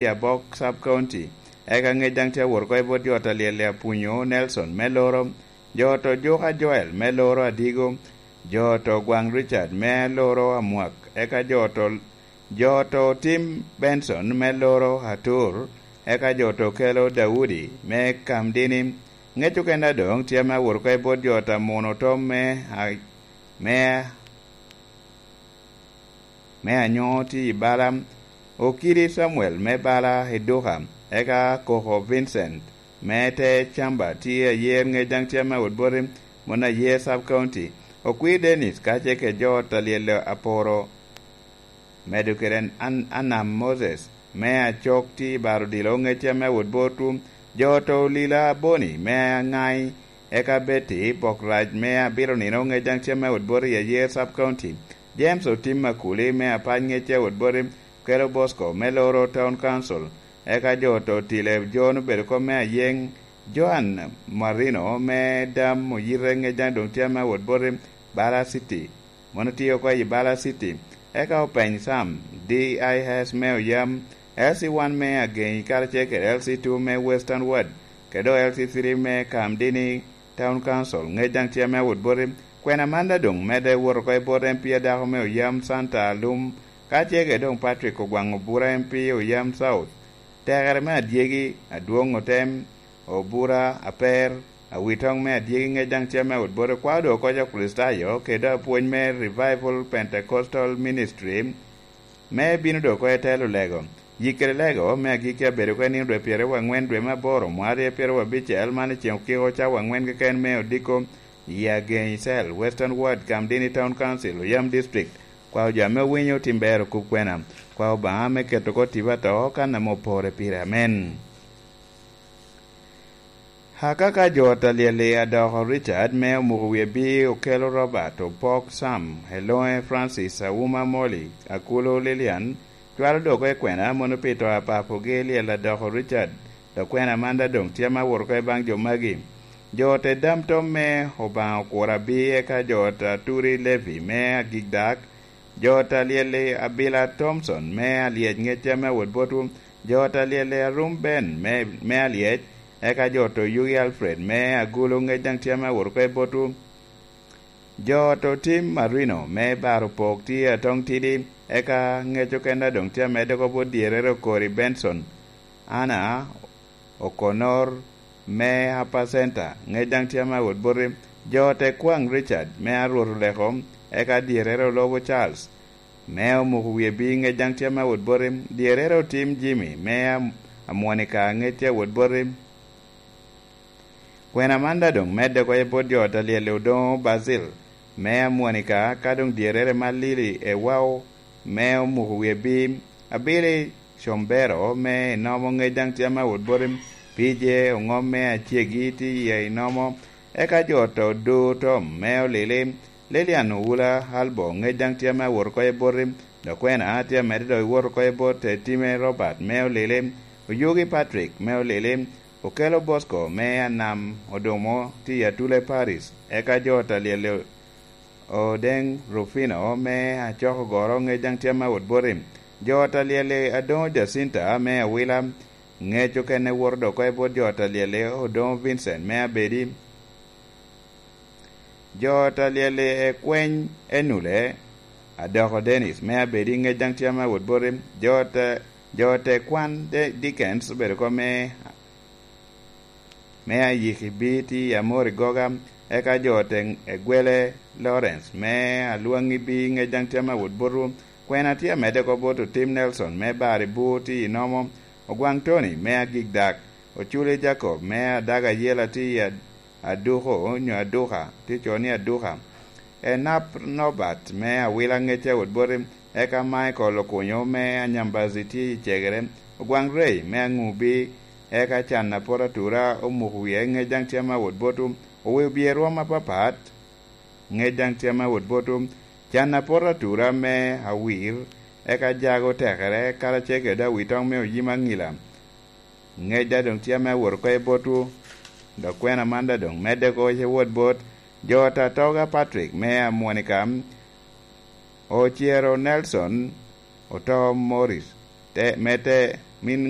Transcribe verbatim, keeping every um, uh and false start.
i Abok Sub County. Eka ŋec daŋ tye awot oko i bot jo ta Lyelle Apunyo Nelson me Loro, jo ta Ojuka Joel me Loro Adigo, jo ta Ogwaŋ Richard me Loro Amwak, eka jo ta, jo ta Otim Benson me Loro Atur, eka jo ta Okelo Daudi me Kamdini. Ŋec okene a doŋ tye ame awot oko i bot jo ta Muno Tom me, a-, me me anyo tye i bala, Okidi Samuel me bala i Duka, eka Koko Vincent me te Camba tye ayer ŋec daŋ tye ame awot boti, mon ayer Sub County, Okwir Dennis kacel kede jo ta Lyelle Aporo, medo kede An-, Anam Moses me Acok tye i baro odilo ŋec tye ame awot botwu, jo ta Olila Boni me Aŋai, eka Betty Bokrac me Abiro Nino ŋec daŋ tye ame awot boti i ayer Sub County. James Otim Akuli me Apac ŋec tye awot boti, Kelo Bosco me Loro Town Council, eka jo ta Otile John obedo kop me Ayeŋ, Joan Marino me Dam Oyite ŋec daŋ doŋ tye ame awot boti, Bala City, mono tye oko i Bala City, eka Openy Sam, D I S me Oyam, L C one me Ageŋi karacel kede L C two me Western Ward, kede dok L C three me Kamdini Town Council, ŋec daŋ tye ame awot boti. Kwena man daŋ doŋ medde wot oko i bot M P a dako me Oyam Santa Alum, ka tye kede doŋ Patrick Ogwaŋ Obura M P Oyam South. Tekere me adyegi, Adwoŋ Otem, Obura, Aper, Awitoŋ me adyegi ŋec daŋ tye ame awot boti, kwao doŋ oko jo Kricitayo, kede apwony me Revival Pentecostal Ministry, me bino doŋ oko i telo lego. Yik kede lego me agikki abedo oko i nino dwe pyeraryo wangwen dwe me aboro, mwaka aryo pyeraryo abicel, man i ceŋ okiko cawa angwen keken me odiko, i Ageŋi Cell, Western Ward, Kamdini Town Council, Oyam District. Kwao jo ame owinyo tim ber okub kwena. Kwao Obaŋa me keto oko tipo ato kan ame opore pire. Amen. Akaka jo ta Lyelle Adoko Richard me Omuko Wie Bi, Okelo Robert, Opok Sam, Eloŋe Francis, Auma Molly, Akulu Lilian, cwalo doŋ oko i kwena mono pi to a papogi Lyelle Adoko Richard, dok kwena man daŋ doŋ tye ame awot oko i baŋ jo magi. Jo ta Dam Tom me Obaŋa Okura Bi, eka jo ta Turi Levi me Agikdak, jo ta Lyelle Abila Thompson me Alyec ŋec tye ame awot botwu, jo ta Lyelle Arum Ben me, me Alyec, eka jo ta Oyugi Alfred me Agulu ŋec daŋ tye ame awot oko i botwu. Jo ta Otim Marino me Baro Pok tye Atong Tidi, eka ŋec okene a doŋ tye amedde oko bot dyerrere Okori Benson, Anna Okonor me Apacenta, ŋec daŋ tye ame awot boti, jo ta Ekwaŋ Richard me Arwot Oleko, eka dyerrere Olobo Charles me Omuko Wie Bi, ŋec daŋ tye ame awot boti, dyerrere Otim Jimmy me Am-, Amwonika, ŋec tye awot boti. Kwena man daŋ doŋ medde oko i bot jo ta Lyelle Odoŋo Basil me Amwonika, ka doŋ dyerrere Malili Ewao me Omuko Wie Bi, Abili Combero me Inomo, ŋec daŋ tye ame awot boti, P J Oŋom me Acegi tye i Inomo, eka jo ta Odo Tom me Olili, Lilian Owula Albo, ŋec daŋ tye ame awot oko i boti, dok kwena tye amedde dok i wot oko i bot Etime Robert me Olili, Oyugi Patrick me Olili, Okelo Bosco me Anam Odomo tye i Atule Paris, eka jo ta Lyelle Odeŋ Rufino me Acok Ogoro, ŋec daŋ tye ame awot boti. Jo ta Lyelle Adoŋo Jacinta me Awila, ŋec okene woto doŋ oko i bot jo ta Lyelle Odoŋo Vincent me Abedi. Jo ta Lyelle Ekweny Enule, Adoko Dennis me Abedi, ŋec daŋ tye ame awot boti. Jo ta, jo ta Ekwan De-, Dickens obedo oko me me Ayiki Bi tye i Amori Goga, eka jo ta Egwele Lawrence me Alwaŋi Bi, ŋec daŋ tye ame awot botwu. Kwena tye amedde oko bot Otim Nelson me Bari Bur tye i Nomo, Ogwaŋ Tony me Agikdak, Oculi Jacob me Adaga Yela tye i Ad-, Aduko, nyo Aduka, tye co ni Aduka. Enap Nobat me Awila, ŋec tye awot boti, eka Michael Okunyo me Anyambazi tye i Cegere, Ogwaŋ Rey me Aŋubi, eka Can Apot Atura Omuko Wie, ŋec daŋ tye ame awot botwu, Owi Obye Rwom apapat, ŋec daŋ tye ame awot botwu, Can Apot Atura me Awir, eka Jago Tekere, karacel kede Awitoŋ me Oyim Aŋila, ŋec daŋ doŋ tye ame awot oko i botwu, dok kwena man daŋ doŋ medde oko i wot bot jo ta Toga Patrick me Amwonika, Ocero Nelson, Oto Morris, te, me te, Min